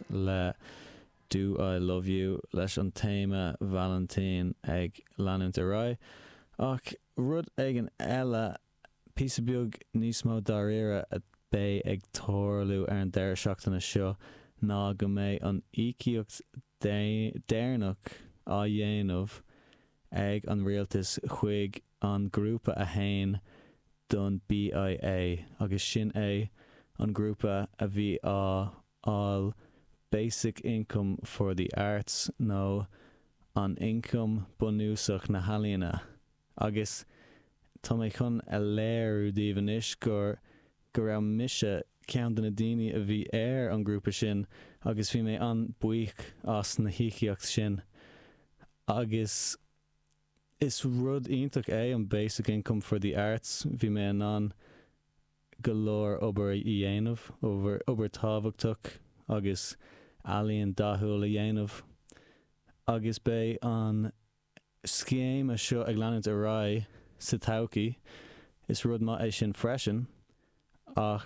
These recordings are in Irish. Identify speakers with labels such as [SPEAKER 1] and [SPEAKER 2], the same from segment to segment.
[SPEAKER 1] Le Do I Love You leis an téama Vailintín ag leanúint ar aghaidh. Ach rud éigin eile, píosa beag níos mó dáiríre a beidh ag tarlú ar an deireadh seachtaine seo ná go mbeidh an íocaíocht deireanach á dhéanamh ag an rialtas chuig an grúpa a théann don BIA agus sin é an grúpa a bhí á fháil Basic Income for the Arts nó an Ioncam Bunúsach na hEalaíona agus tá mé chun a léiriú daoibh anois gur go raibh mise ceann de na daoine a bhí ar an grúpa sin agus bhí mé an-buíoch as na híocaíocht sin agus is rud iontach é an Basic Income for the Arts, bhí mé in ann go leor obair a dhéanamh, obair tábhachtach agus ealaíon dathúil a dhéanamh agus beidh an scéim seo ag leanúint ar aghaidh sa todhchaí. Is rud maith é sin freisin ach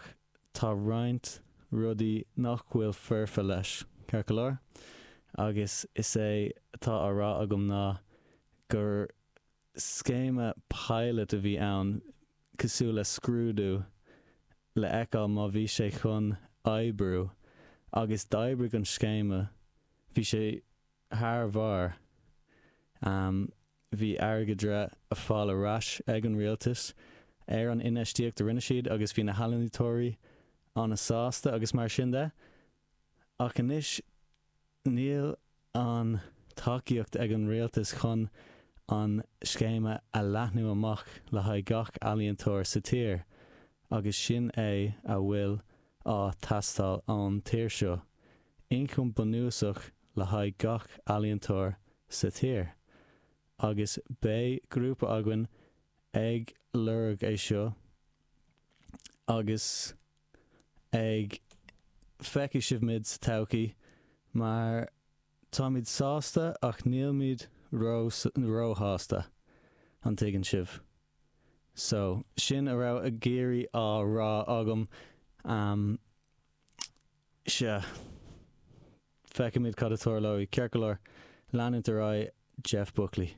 [SPEAKER 1] tá roinnt rudaí nach bhfuil foirfe leis, ceart go leor? Agus is é atá á rá agam ná gur scéime pilot a bhí ann, cosúil le scrúdú, le fheiceáil má bhí sé chun oibriú, agus d'oibrigh an scéime, bhí sé thar bharr. Bhí airgeadra á fáil ar ais ag an rialtas ar an infheistíocht a rinne siad agus bhí na healaíontóirí an-sásta agus mar sin de. Ach anois Níl an tacaíocht ag an rialtas chun an scéime a leathnú amach le haghaidh gach ealaíontóir sa tír agus sin é a bhfuil á teastáil ón tír seo, ioncam bunúsach le haghaidh gach ealaíontóir sa tír. Agus beidh grúpa againn ag lorg é seo agus. ag feicfidh sibh muid sa todhchaí mar táimid sásta ach nílimid ró róshásta, an dtuigeann sibh? So, sin a raibh ag iarraidh á rá agam. Um, sea. Feicfimid cad a tarlóidh. Ceart go leor, leanúint ar aghaidh, Jeff Buckley.